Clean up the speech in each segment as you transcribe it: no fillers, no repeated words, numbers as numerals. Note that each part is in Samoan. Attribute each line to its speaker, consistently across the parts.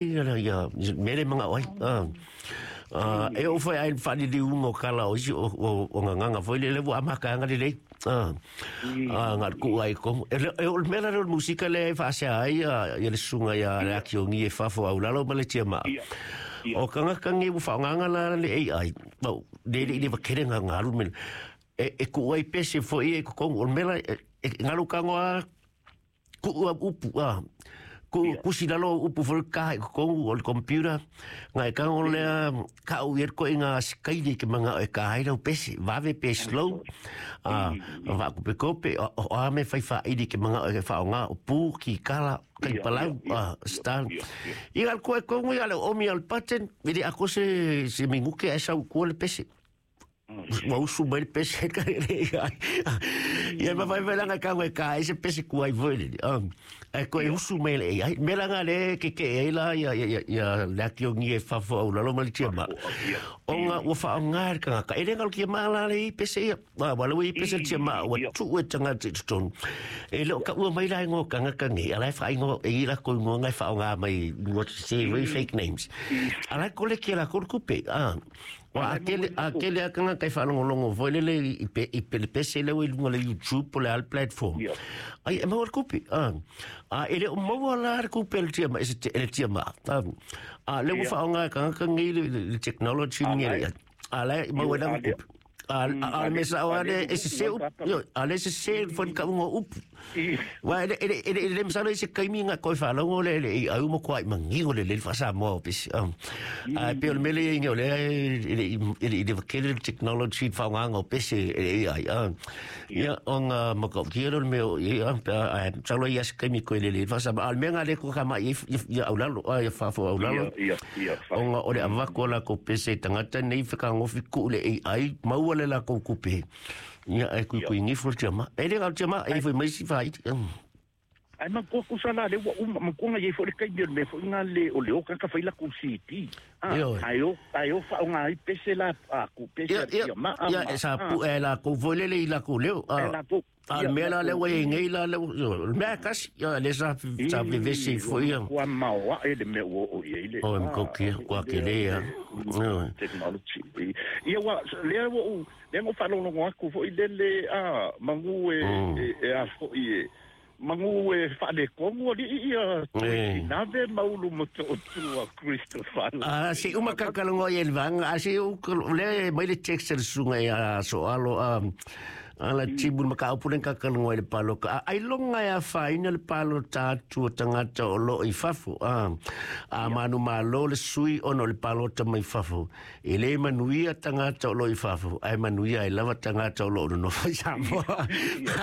Speaker 1: Ia mea le mangao ai. E oo foi ai faaliliuga o kala o isi o gagaga foi lele ua amataga lelei. Na o le tuu ai i totonu. E o le mea la lea o le musika lea e faasea ai le susuga ia Leakiogi e fafo aulalo ma le tiamaa. O tagata nei ua faaaogaina la le AI, le le i leva tele ona alu le mea lea. E tuu ai pese foi ia i totonu. O le mea la, e galo tago lava tuu au upu, a, tuu tusi lalo au upu foi ka i totonu o le computer, na e tago lea kau i ai le ituaiga sikaili e te manao e ka ai lau pese, vave pe slow, a, vaakopetope, o a mea fai faaili e te manao e faaaoga, o pu, kikala, taipalau, a, style. Ia, le koe tonu ia le oomi o le button, e le atoa se minute ae sau i tua le pese. Ua usu mai le pese ka le ai. Ia ma fai langa ka ngai ka ai se pese kuai foi le. Ai ko e usu mai le ai. Me langa le ke ke ai la ia ia ia le akiongi e fafo au lalo ma le tia ma. Onga ua whaonga le kangaka. E le ngalo kia maa la le i pese ia. Wa le i pese tia ma ua tu e tangata i totonu. E le o ka ua mai la ingoa kangaka nei. Ala e whaingoa e i la ko ingoa ngai whaonga mai what to say very fake names. Ala ko le kia la ko kupe. Ua a kele, a kele a kanga kai whaalongolongo foi lele i pe, i pele pese leo i lunga le YouTube po le al platform. Ai, e maua le kupi. A, e le o maua la le kupi le tia ma, e se le tia ma. A, le ua whaonga e kanga kangi le technology ngi le. A, le, maua le kupi. A, a, a, me sa o ale, e se se upu, a le se se foi ka ungo upu. Wa ele ele ele ele masalo i se kaimi nga koe whalongo le le i au mo koa i mangigo le le whasamoa o pesi. A pe o le mele inge o le ele ele i le wakele le technology whaonganga o pesi ele ai. Ia o nga maka o kia le mea o ia pe a salo i ase kaimi koe le le whasamoa. A le mea nga le ko ka mai i au lalo a ia whafo au lalo. O nga o le avako la ko pese tangata nei whakangofi ku le AI maua le la ko kupe. Ia e kui kui ngifo tia ma. E le ngau tia ma e foi mai si fai.
Speaker 2: Ai ma kua kusa la le ua uma ma kua ngai foi le kaimi o le mea foi nga le o le oka ka fai la ku CD. Ah, ai o ai o fa o ngai pese la a ku pese
Speaker 1: tia ma. Ia e sa pu e la ku foi le le i la ku leo. E la ku. A le mea la le ua i nei la le le mea kasi ia le sa sa vevesi foi ia.
Speaker 2: Kua maoa e le mea ua o i ai le.
Speaker 1: O em ko kia kua ke le ia.
Speaker 2: Technology. Ia ua lea ua u lea ngo whalolongo aku foi le le a mangu e e a foi e mangu e whale kongu ali ia tui nave maulu mo to tua Christopher.
Speaker 1: A se uma kakalongo i le vanga a se u le mai le text le sunga ia so alo a ala tibu ma ka upu le kakalongo i le paloka. Ai longa ia whaina le palo tātua tangata o lo i fafo. A manu malo le sui ono le palota mai fafo. E le manuia tangata o lo i fafo. Ai manuia e lava tangata o lo no fai Samoa.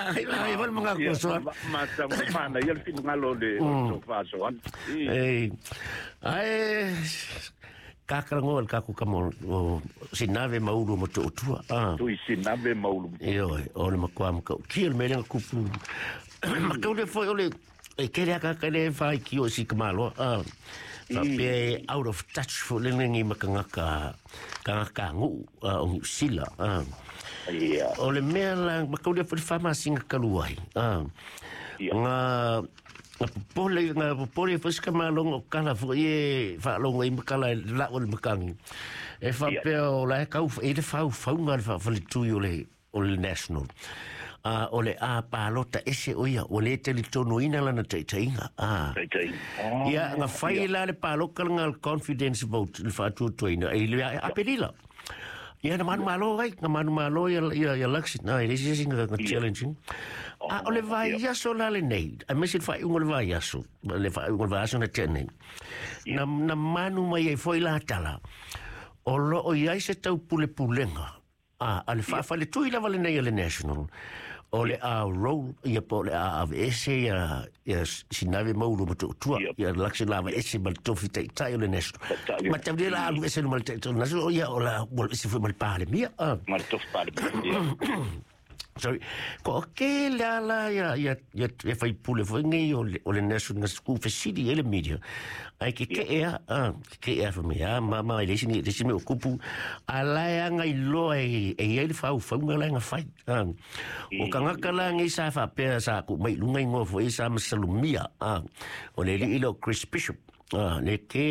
Speaker 1: Ai ai wal mga kosoa.
Speaker 2: Ma ta mana ia le finangalo le o faso an.
Speaker 1: Ei. Ai kakarango le kaku kamo o sinave maulu mo to tua.
Speaker 2: Tui sinave maulu.
Speaker 1: Io o le makua maka. Ki o le melenga kupu. Makau le foi o le e kere aka kere whai ki o si kamalo. Pe out of touch fo le ngi makangaka kangaka ngu o New Sila. O le mea la makau le foi whama singa kaluai. Nga nga popole foi se malongo kala foi e whaalongo i makala e la o le makangi. E whapea o la e kau e le whau whaunga le whawhale tui o le o le national. O le a palota ese o ia, o le tele tono ina lana taitainga. Ia, nga whai la le paloka nga confidence vote le whaatuatuaina, e le apelila. Ia, na manu malo ai, na manu malo ia, ia, ia Luxi, na, e le sisi nga, nga challenging. A, o le vai aso la le nei, a mesi le whai ungo le vai aso, le whai ungo le vai aso na te nei. Na, na manu mai e foi la tala, o lo o iai se tau pule pulenga, a le whaafale tui lava le nei a le national, o le a roll, ia po le a ave ese ia, ia sinave maulu ma tuatua, ia Luxi lava ese ma le tofi taitai o le national. Ma tau la alu ese ma le taitai o le national, ia o la, o ese foi ma le palemia.
Speaker 2: Ma le tofi palemia.
Speaker 1: Sorry. Ko ke la la ia ia ia ia fai pule foi nei o le national school facility e le media. Ai ke ke ea a ke ea fa mea ma ma le sini le sini o kupu a la e anga i loa e e ia le fau fau nga la nga fai. O kangaka la ngai sa fa pe sa ku mai lunga ingo foi sa masalumia o le li ilo Chris Bishop. Le ke